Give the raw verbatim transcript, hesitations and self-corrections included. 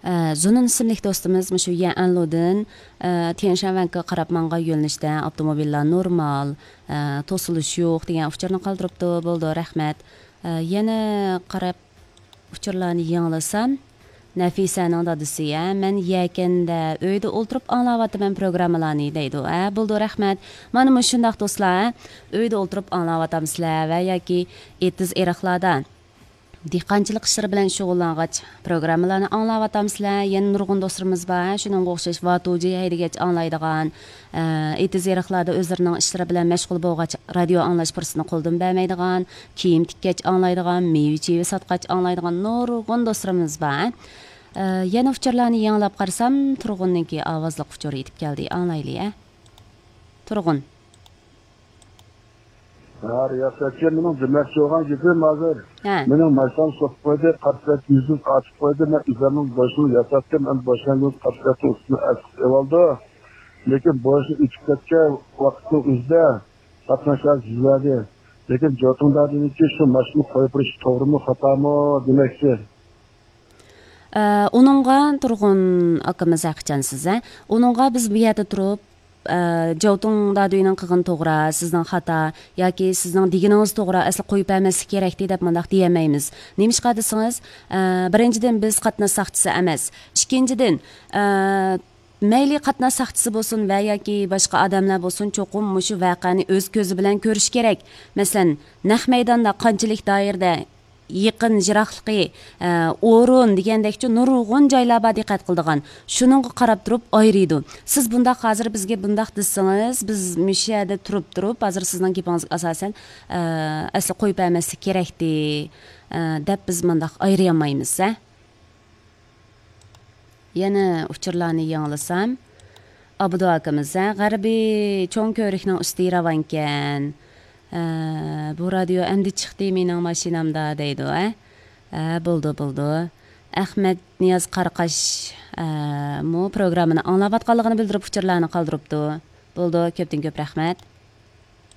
ئە، زۇنۇن ئىسىملىك دوستىمىز مۇشۇ يەنلۇدىن، ئە، تيەنشانۋەنگە قاراپ ماڭغان يۆنىلىشتە ئاپتوموبىللار نورمال، ئە، توسۇلۇش يوق دېگەن ئۇچۇرنى قالدۇرۇپتۇ. بولىدۇ، رەھمەت. ئە، يەنە قاراپ ئۇچۇرلارنى يېڭىلىسام، نەفىسەنىڭ دادىسى، ھە، مەن يەكەندە ئۆيدە ئولتۇرۇپ ئاڭلاۋاتىمەن پروگراممىلارنى دەيدۇ. ھە، بولىدۇ، رەھمەت. مانا مۇشۇنداق دوستلار، ھە، ئۆيدە ئولتۇرۇپ ئاڭلاۋاتامسىلەر ۋە ياكى ئېتىز ئېرىقلاردا دېھقانچىلىق ئىشلىرى بىلەن شۇغۇللانغاچ پروگراممىلارنى ئاڭلاۋاتامسىلەر؟ يەنە نۇرغۇن دوستلىرىمىز بار، ھە، شۇنىڭغا ئوخشاش ۋاتۇجى ھەيدىگەچ ئاڭلايدىغان، ئە، ئېتىز ئېرىقلاردا ئۆزلىرىنىڭ ئىشلىرى بىلەن مەشغۇل بولغاچ رادىيو ئاڭلاش پۇرسىتىنى قولدىن بەرمەيدىغان، كىيىم تىككەچ ئاڭلايدىغان، مېۋە چېۋە ساتقاچ ئاڭلايدىغان نۇرغۇن دوستلىرىمىز بار. ئە، يەنە ئۇچۇرلارنى يېڭىلاپ قارىسام، تۇرغۇننىڭكى ئاۋازلىق ئۇچۇرى يېتىپ كەلدى. ئاڭلايلى، ئە. تۇرغۇن. ھە، رىياسەتچى، مېنىڭ دېمەكچى بولغان گېپىم ھازىر. ھە. مېنىڭ ماشىنام سوقۇپ قويدى، قارا سۈرەت يۈزدىن ئارتىپ قويدى. مەن ئۆزۈمنىڭ بوشىنى ياساتتىم، ئەمدى بوشىنىڭ قارا سۈرەتنىڭ ئۈستىنى ئەسقىتىپ ئېلىۋالدى. لېكىن بوشىنى ئۆتۈپ كەتكەن ۋاقىتنىڭ ئۆزىدە قاتناش ھازىر يۈز بەردى. لېكىن جوتۇڭ دادىنىڭكى شۇ ماشىنىنى قويۇپ بېرىشى توغرىمۇ، خاتامۇ دېمەكچى. ئە، ئۇنىڭغا تۇرغۇن ئاكىمىز ھەقىچان سىز، ھە؟ ئۇنىڭغا بىز بۇ يەردە تۇرۇپ، ئە، جاۋتۇڭ دادۈينىڭ قىلغىنى توغرا، سىزنىڭ خاتا ياكى سىزنىڭ دېگىنىڭىز توغرا، ئەسلى قويۇپ بەرمەسلىك كېرەكتى دەپ مۇنداق دېيەلمەيمىز. نېمىشقا دېسىڭىز، ئە، بىرىنچىدىن، بىز قاتناش ساقچىسى ئەمەس. ئىككىنچىدىن، ئە، مەيلى قاتناش ساقچىسى بولسۇن ۋە ياكى باشقا ئادەملەر بولسۇن، چوقۇم مۇشۇ ۋەقەنى ئۆز كۆزى بىلەن كۆرۈشى كېرەك. مەسىلەن، نەق مەيداندا قانچىلىك دائىرىدە يېقىن، يىراقلىقى، ئە، ئورۇن دېگەندەكچۇ نۇرغۇن جايلار بار دىققەت قىلىدىغان. شۇنىڭغا قاراپ تۇرۇپ ئايرىيدۇ. سىز بۇنداق ھازىر بىزگە بۇنداق دېسىڭىز، بىز مۇشۇ يەردە تۇرۇپ تۇرۇپ، ھازىر سىزنىڭ گېپىڭىزگە ئاساسەن، ئە، ئەسلى قويۇپ بەرمەسلىك كېرەكتى، ئە، دەپ بىز مۇنداق ئايرىيالمايمىز، ھە؟ يەنە ئۇچۇرلارنى يېڭىلىسام، ئابدۇ ئاكىمىز، ھە، غەربىي چوڭ كۆۋرۈكنىڭ ئۈستى راۋانكەن. ھە، بۇ رادىيو ئەمدى چىقتى مېنىڭ ماشىنامدا دەيدۇ، ھە. ھە، بولىدۇ، بولىدۇ. ئەخمەت نىياز قاراقاش، ھە، مۇ پروگراممىنى ئاڭلاۋاتقانلىقىنى بىلدۈرۈپ ئۇچۇرلارنى قالدۇرۇپتۇ. بولىدۇ، كۆپتىن كۆپ رەھمەت.